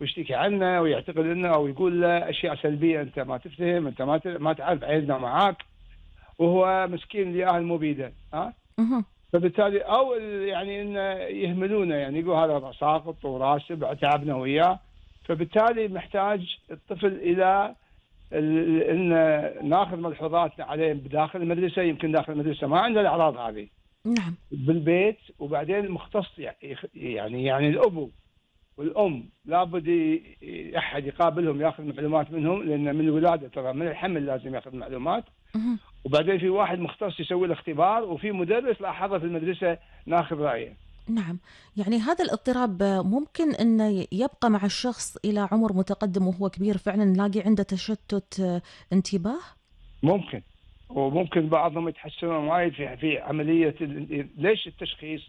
ويشتكي عنه ويعتقد انه او يقول له اشياء سلبيه، انت ما تفهم، انت ما تعرف عيلنا معاك، وهو مسكين لاهل مو بيده ها. اهم. فبالتالي او يعني انه يهملونه، يعني يقول هذا ساقط وراسب تعبنا وياه. فبالتالي محتاج الطفل الى ان ناخذ ملحوظات عليه بداخل المدرسه، يمكن داخل المدرسه ما عنده الاعراض هذه نعم. بالبيت، وبعدين مختص يعني الابو والام لابد احد يقابلهم ياخذ معلومات منهم، لان من الولاده ترى من الحمل لازم ياخذ معلومات. اهم. وبعدين في واحد مختص يسوي له اختبار، وفي مدرس لاحظه في المدرسه ناخذ رايه. نعم. يعني هذا الاضطراب ممكن أنه يبقى مع الشخص إلى عمر متقدم وهو كبير، فعلا نلاقي عنده تشتت انتباه؟ ممكن، وممكن بعضهم يتحسنون وايد في عمليه ليش التشخيص؟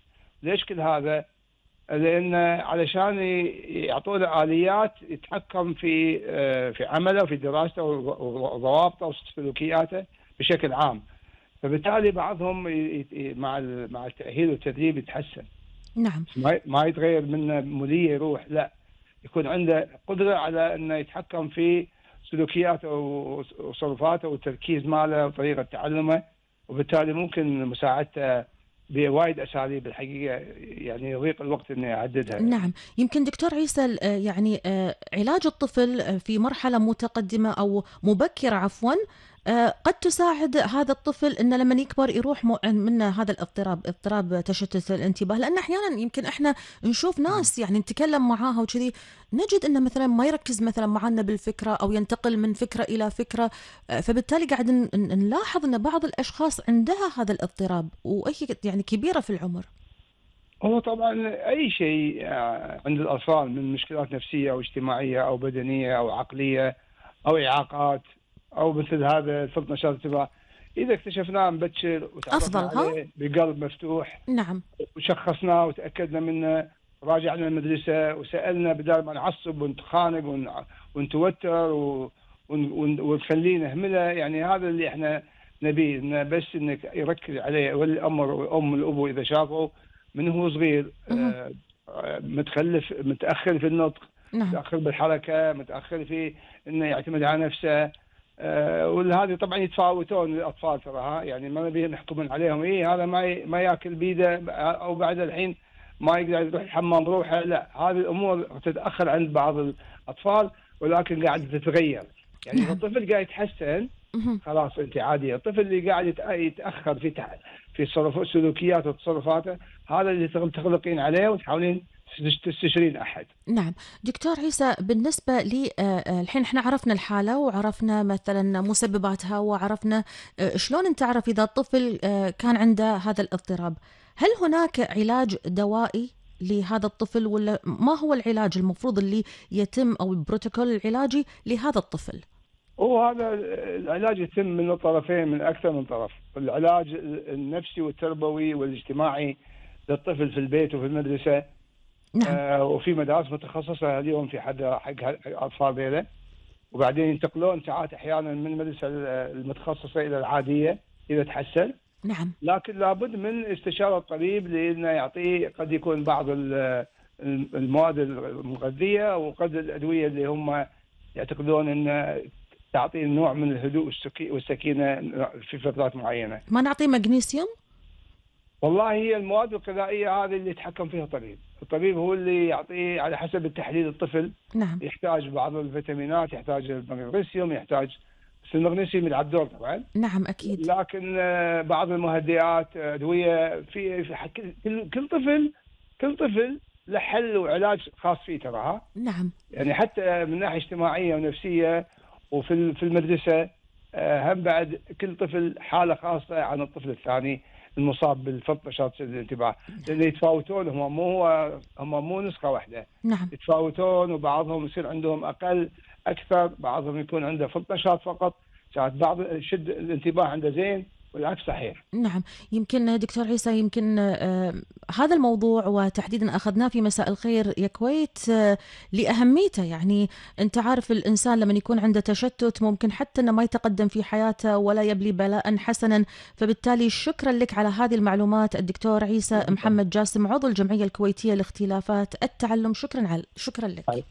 ليش كل هذا؟ لان علشان يعطونه اليات يتحكم في عمله وفي دراسته وضوابطه وسلوكياته بشكل عام. فبالتالي بعضهم مع التاهيل والتدريب يتحسن. نعم. ما يتغير منه موليه يروح، لا، يكون عنده قدره على انه يتحكم في سلوكياته وتصرفاته والتركيز ماله وطريقه تعلمه، وبالتالي ممكن مساعدته بوايد اساليب الحقيقه، يعني يضيق الوقت اني اعددها. نعم. يمكن دكتور عيسى يعني علاج الطفل في مرحلة متقدمة أو مبكرة عفوا قد تساعد هذا الطفل أنه لما يكبر يروح منه هذا اضطراب تشتت الانتباه، لأن أحيانا يمكن إحنا نشوف ناس يعني نتكلم معاها وكذي نجد أنه مثلا ما يركز مثلا معنا بالفكرة أو ينتقل من فكرة إلى فكرة، فبالتالي قاعد نلاحظ أن بعض الأشخاص عندها هذا الاضطراب وهي يعني كبيرة في العمر. هو طبعا اي شيء عند الاطفال من مشكلات نفسيه او اجتماعيه او بدنيه او عقليه او اعاقات او مثل هذا فرط نشاط انتباه، اذا اكتشفناه مبكر وتعرفنا أفضل ها؟ عليه بقلب مفتوح نعم. وشخصناه وتاكدنا منه، راجعنا المدرسه وسالنا بدل ما نعصب ونتخانق ونتوتر ونخليه نهمله، يعني هذا اللي احنا نبيه، إنه بس انك يركز عليه ولي الامر والام والابو اذا شافوا من هو صغير مهم. متخلف متاخر في النطق، نعم. متاخر بالحركه، متاخر في انه يعتمد على نفسه، وهذه طبعا يتفاوتون الاطفال ترى يعني ما نبي نحكم عليهم هذا ما ياكل بيده او بعد الحين ما يقدر يروح الحمام بروحه، لا، هذه الامور تتاخر عند بعض الاطفال ولكن قاعده تتغير. يعني اذا نعم. الطفل قاعد يتحسن مهم. خلاص انت عاديه. الطفل اللي قاعد يتاخر في سلوكياته وتصرفاته، هذا اللي تغلقين عليه وتحاولين تستشيرين احد. نعم. دكتور عيسى، بالنسبة لي الحين احنا عرفنا الحالة وعرفنا مثلا مسبباتها وعرفنا شلون نتعرف إذا الطفل كان عنده هذا الاضطراب. هل هناك علاج دوائي لهذا الطفل ولا ما هو العلاج المفروض اللي يتم أو البروتوكول العلاجي لهذا الطفل؟ وهذا العلاج يتم من الطرفين، من اكثر من طرف، العلاج النفسي والتربوي والاجتماعي للطفل في البيت وفي المدرسه. نعم. وفي مدارس متخصصه اليوم في حق الاطفال ذيلا، وبعدين ينتقلون ساعات احيانا من المدرسه المتخصصه الى العاديه اذا تحسن. نعم. لكن لابد من استشاره الطبيب لانه يعطيه قد يكون بعض المواد المغذيه وقد الادويه اللي هم يعتقدون ان تعطي نوع من الهدوء والسكينه في فترات معينه. ما نعطيه مغنيسيوم؟ والله هي المواد الغذائيه هذه اللي يتحكم فيها الطبيب، الطبيب هو اللي يعطيه على حسب التحليل. الطفل نعم. يحتاج بعض الفيتامينات، يحتاج المغنيسيوم، يحتاج، بس المغنيسيوم يلعب دور طبعا. نعم أكيد. لكن بعض المهدئات، ادويه في كل طفل له حل وعلاج خاص فيه ترى. نعم. يعني حتى من ناحيه اجتماعيه ونفسيه وفي المدرسه هم بعد كل طفل حاله خاصه عن الطفل الثاني المصاب بالفرط نشاط الانتباه، لان يتفاوتون، هم مو نسخه واحده. نعم. يتفاوتون وبعضهم يصير عندهم اقل اكثر، بعضهم يكون عنده فرط نشاط فقط، ساعات بعض شد الانتباه عنده زين والعكس صحيح. نعم. يمكن دكتور عيسى يمكن هذا الموضوع وتحديدا أخذناه في مساء الخير يا كويت لأهميته. يعني أنت عارف الإنسان لما يكون عنده تشتت ممكن حتى أنه ما يتقدم في حياته ولا يبلي بلاء حسنا. فبالتالي شكرا لك على هذه المعلومات الدكتور عيسى محمد جاسم، عضو الجمعية الكويتية لاختلافات التعلم. شكرا لك.